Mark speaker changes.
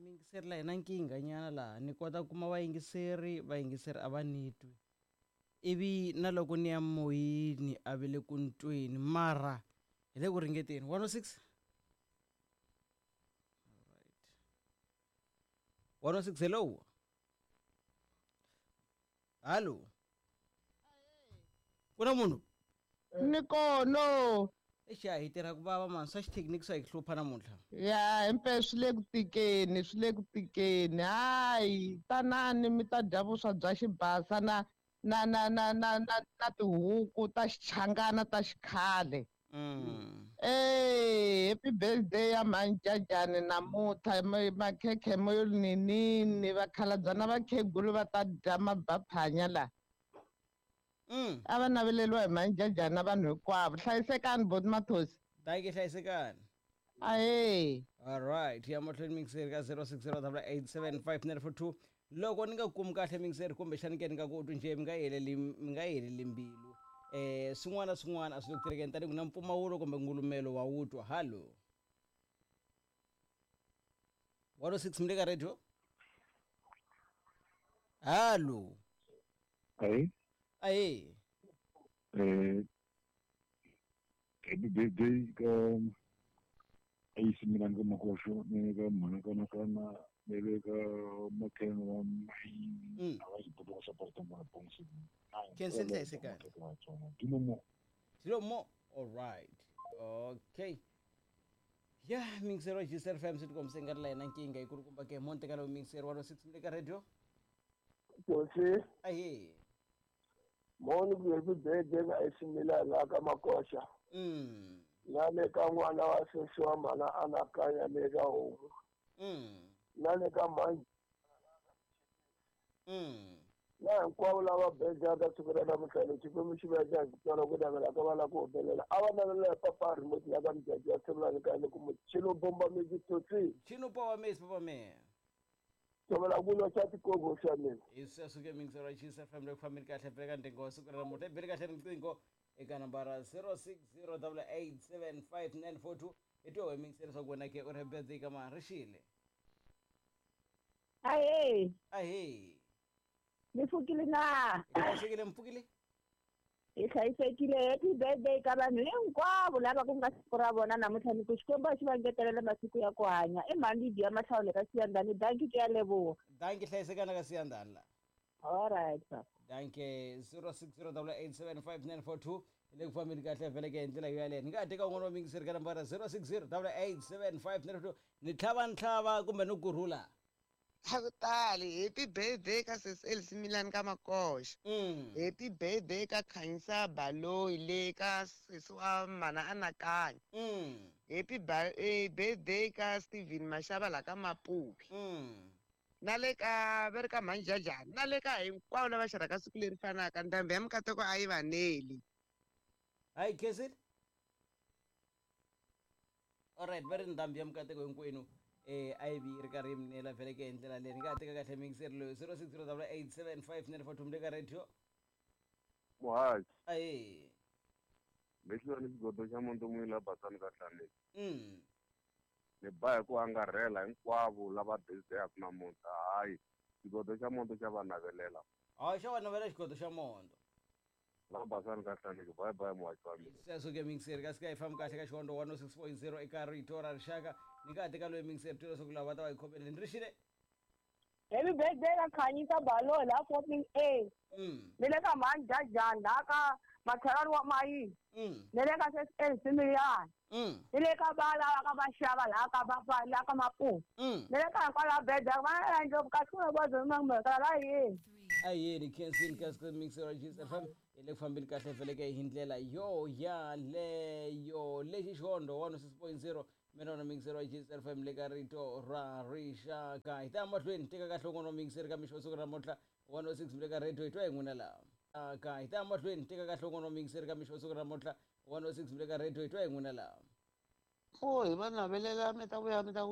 Speaker 1: Miyingiseri la hi na nkingha nyana laha ni kota ku kuma vayingiseri, vayingiseri a va ni twi. Ivi na loko ni ya moyeni a ve le ku ni tweni mara hi le ku ringeteni. 106 Alright. 106 hello. Hallo. Ku na munhu?
Speaker 2: Ni kono.
Speaker 1: Exi a hi tirha ku vava mani swa xithekiniki swa hi hlupha namuntlha.
Speaker 2: Ya himpela swi le ku tikeni swi le ku tikeni hayi tanani mi ta dya vuswa bya xibasa na na na na na na na tihuku ta xichangana ta xikhale. Eh happy birthday ya mhani namuntlha makhekhe mo yo ninini vakhalabya na vakhegulu va ta dya mabaphanya la. A va naveleriwa hi mhani na vanhu hinkwavo. Hlayisekani boti Mathosi.
Speaker 1: Dankie hlayisekani.
Speaker 2: Ahee.
Speaker 1: Alright, ya mahlweni mixeri ka 0608875942 loko ni nga kumi kahle mixeri kumbexani ke ni nga ku twi njhe mi nga heleli mi nga heleli mbilu eh swin'wana na swin'wana a swi le ku tirhekeni tanihi ku na mpfumawulo kumbe ngulumelo wa wu twa hallo 106 mi le ka radio hallo
Speaker 3: Ahee.
Speaker 1: Ahee.
Speaker 3: Happy birthday ka Ace mina ka Makoxo ni ka mhana ka Nakana ni le ka makhelwani wa Mayini a va xibodwa xa Pastor Mwana Bongsi.
Speaker 1: Khensa hlayisekani.
Speaker 3: Dilo mo.
Speaker 1: Dilo mo. All right. Okay. Ya mixer wa Gcr FM swi tikombise nga ri la yena nkingha yi kulukumba ke mo ntekalo mixer 106 mi le ka radio.
Speaker 4: Hosi.
Speaker 1: Ahee.
Speaker 4: Moni ku happy birthday ka AC Milan la ka Makoxa. Na le ka n'wana wa sesi wa mhana anakanya le ka homu. Na le ka mhani. Na hinkwavo lava bejaka siku ra namuntlha lexi Xikwembu xi va endla hi ku twala ku navela ka va lava ku humelela. A va navelela hi papa remote la ka Mjaji wa Themlani ka le ku muchini bomba misi tsotsi.
Speaker 1: Chino power mesi papa me.
Speaker 4: Tshovela ku lwa xa tikogo xa mina.
Speaker 1: Hi sweswo ke mixer wa Chiefs FM le ku fambeni kahle bele ka ndzingo wa siku ra namuntlha. Bele kahle riqingho eka nambara 0608875942 hi twa we mixer leswaku wena ke u ri birthday ka mani rixile.
Speaker 5: Ahee.
Speaker 1: Ahee.
Speaker 5: Mi pfukile na?
Speaker 1: Hi hlayisekile mi pfukile?
Speaker 5: Hi hlayisekile. Happy birthday ka vanhu hinkwavo lava ku nga siku ra vona namuntlha ni ku Xikwembu a xi va ngetelele masiku ya ku hanya. I mhani Lydia Mahlawule ka Siyandhani. Dankie ke ya leboha.
Speaker 1: Dankie hlayisekana ka Siyandhani la.
Speaker 5: All right papa.
Speaker 1: Dankie 0608875942 hi le ku fambeni kahle vhele ke hi ndlela yo yaleyo. Ni nga ha teka un'wana wa miyingiseri ka nambara 0608875942 ni tlhava ni tlhava kumbe ni kurhula.
Speaker 2: A ku tali happy birthday ka sesi Elsie Milan ka Makoxa. Happy birthday ka Khanyisa Baloyi le ka sesi wa mhana Anakanya. Happy birthday ka Steven Mashava la ka Mapupi. Na le ka va ri ka mhani Jajani na le ka hinkwavo lava xerhaka siku leri fanaka ndhambi ya mikateko a yi va neli.
Speaker 1: Hayi khensile. Alright va ri ndhambi ya mikateko hinkwenu eh a yi vi yi ri karhi yi mi nela vhele ke hi ndlela leyi ni nga ha teka kahle miyingiseri loyi 0608875942 mi le ka radio.
Speaker 6: Muhaxi.
Speaker 1: Ahee.
Speaker 6: Lexi ni xigodo xa monto munhu la basani ka hlaneki. Ni ba hi ku angarhela hinkwavo lava birthday-aku namuntlha hayi xigodo xa monto xa va navelela.
Speaker 1: Hayi xa va navela xigodo xa monto.
Speaker 6: La basani ka hlaneki bye bye muhaxi wa mina.
Speaker 1: Sweswo ke miyingiseri kasi ka hi fambi kahle ka xihondo 106.0 eka rito ra rixaka ni nga ha teka loyi miyingiseri twa leswaku lava va ta va hi khomeleni ri xile.
Speaker 5: Happy birthday ka Khanyisa Baloyi la 14 A. Ni le ka mhani Jajani la ka makhelwani wa Mayini. Ni le ka sesi Elsie Milan. Ni le ka va lava ka Maxava la ka va la ka Mapupu. Ni le ka hinkwavo lava birthday va na ndlopfu kasi ku na vuvabyi bya la yini.
Speaker 1: Ahee khensini ka mixer wa Chiefs FM hi le ku fambeni kahle vhele ke hi ndlela yo yaleyo lexi xihondo 106.0 mina wona mixer wa Chiefs FM le ka rito ra rixaka hi ta ya mahlweni teka kahle un'wana wa mixer ka mixo wa siku ra namuntlha 106 le ka radio hi twa hi n'wina laha ka hi ta ya mahlweni teka kahle un'wana wa mixer ka mixo wa siku ra namuntlha 106 le ka radio hi twa hi n'wina laha.
Speaker 2: Pho hi va navelela mi ta vuya mi ta